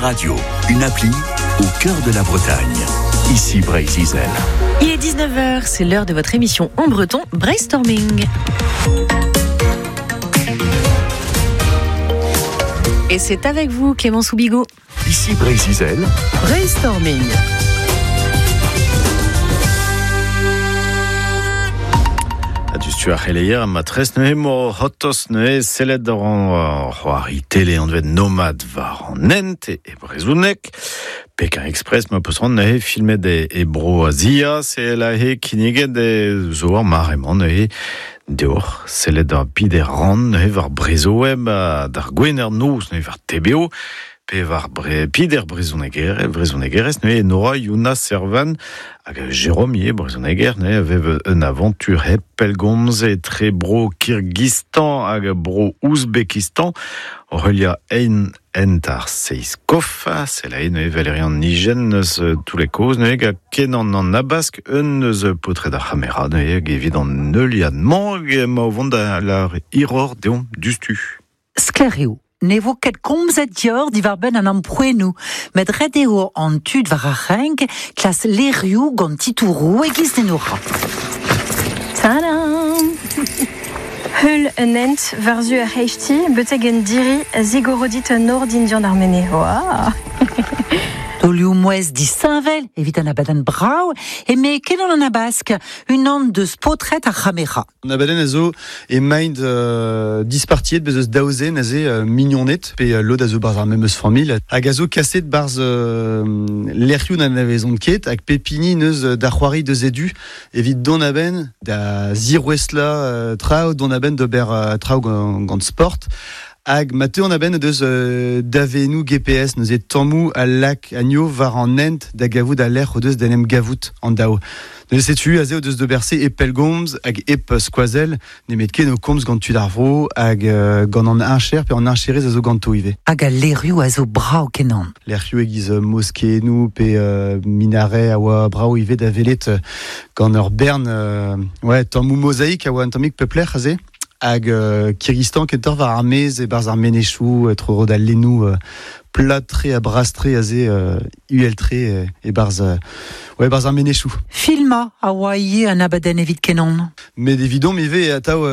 radio, une appli, au cœur de la Bretagne. Ici Breizh-Izel. Il est 19h, c'est l'heure de votre émission en breton Brainstorming. Et c'est avec vous, Clémence Soubigot. Ici Breizh-Izel. Brainstorming. A du ar c'heleier ma tres neuze mo c'hortoz neuze sellet ar an c'hoari tele anvet Nomad war an hent e brezhoneg. Pekin Express ma peus ran neuze filmet e bro Azia, se la he kinniget e zo ar mare-mañ neuze deoc'h sellet ar pider ran neuze war Brezhoweb d'ar Gwener noz neuze war TBO pe war bre, pider brezhoneger, brezhonegerez neuze Nora Yuna Servan hag Jérôme ivez brezhoneger neuze vev un aventure hep pellgomz etre bro Kirgizstan hag bro Ouzbekistan Aurelia ein ent ar seiz kof, se la neuze Valerian Nigen eus tous les causes neuze hag kenan an abask un eus potred ar c'hamera neuze hag evit an neuliad mañ ma o vont da la iror deomp dustu. Sklaer eo. Ne vo ket komzet dior diwar benn an amprouennoù, met ret eo an tud war ar renk klas lerioù gant titouroù e-giz den ora. Tadam! Heul un hent war-zu ar c'hreisteiz, betek un diri a zigorodit un nor dindan ar menez. Waouh! Taolioù mouezh disheñvel evit an abadenn brav eme Kenan an Abask, unan deus paotred ar c'hamera. An abadenn a zo emaint dispartiet bez eus daou zen aze mignoned pe lod a zo barzh ar memes familh hag a zo kaset barzh lec'hioù n'anavezont ket hag pep hini neus da c'hoari deus e du evit dont a-benn da zirouestlañ traoù dont a-benn d'ober traoù gant sport hag ma teuont a-benn deus daveennoù GPS neuze tammoù a lak anezho war an hent da gavout al lec'h o deus d'en em gavout an daou. Neuze setu aze o deus d'ober se e pellgomz hag hep skoazell nemet ken o komz gant tud ar vro hag gant an heñcher pe an heñcherez a zo ganto ivez. Hag al lec'hioù a zo brav kenan. Lec'hioù e-giz moskeennoù pe minaret a oa brav ivez da welet gant ur bern ouais, tammoù mozaik a oa un tammig pep lec'h aze. Hag Kirgizstan kentoc'h war ar maez e-barzh ar menezioù tro-dro d'al lennoù plat-tre ha bras-tre aze uhel-tre e-barzh ouais, e-barzh ar menezioù. Filmañ a oa ivez an abadenn evit Kenan. Met evidomp ivez e atav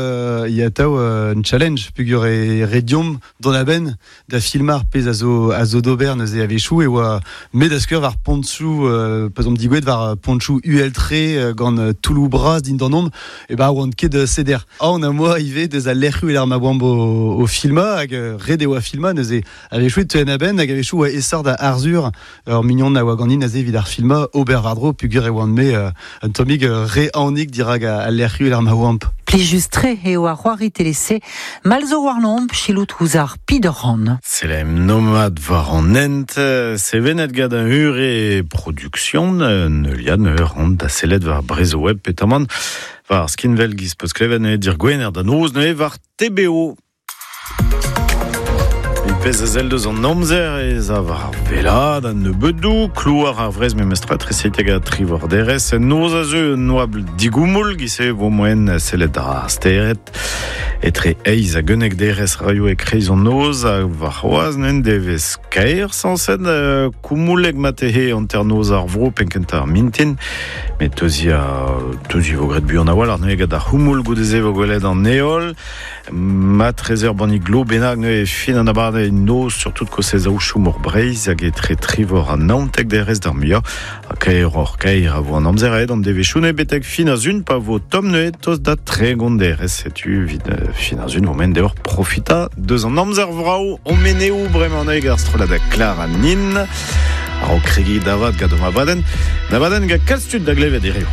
e atav un challenge peogwir e ret deomp dont a-benn da filmañ ar pezh a zo a zo d'ober neuze a-wechoù e oa me da skouer war pontioù pa 'z omp digouezhet war pontioù uhel-tre gant toulloù bras dindanomp e ba oant ket seder. Aon am boa ivez deus al lec'hioù e-lec'h ma oamp o filmañ hag ret e oa filmañ neuze a-wechoù e teuen a-benn hag a-wechoù oa aesoc'h da Arzhur ur mignon a oa ganin aze evit ar filmañ ober war-dro peogwir e oan-me un tammig re aonik dirak al lec'hioù e-lec'h ma oamp. Plijus-tre eo ar c'hoari tele-se, mall zo warnomp selaout ouzh ar Pidoran. Selem nomad war an hent, sevenet gant un ure production, neuliad ur ran da sellet war Brezhoweb petamant war ar skinwel giz peus klevet neuze dir Gwener da noz neuze war TBO. Pezh a sell deus an amzer ez a war ar wellaat a-nebeudoù, klouar ar wrez memestra tresetek ha trivorderezh. Noz a zeu un oabl digoumoul, giz-se vo moaien sellet ar stered. Etre eizh hag unnek derez raio e-kreiz an noz ha warc'hoazh n'en devez kaer sañset koumoulek matehe hanternoz ar vro penn-kentañ ar mintin. Met teuzi a teuzi vo graet buan a-walc'h neuze gant ar c'houmoul goude-se vo gwelet an heol. Ma 13 bannig glo bennak neuze fin an abadenn noz surtout kostez aochoù mor Breizh hag etre trivor ha naontek derez d'ar muiañ. Ha kaeroc'h kaer a vo an amzer aet an devezhioù neuze betek fin ar sun pa vo tomm neuze tost da 30 derez. Setu evit fin ar sun vo deoc'h profitañ deus an amzer vrav o meneoù bremañ neuze ar strollad Clara Nin. A-raok kregiñ da vat gant o abadenn. An abadenn gant kalz tud da glevet hiziv.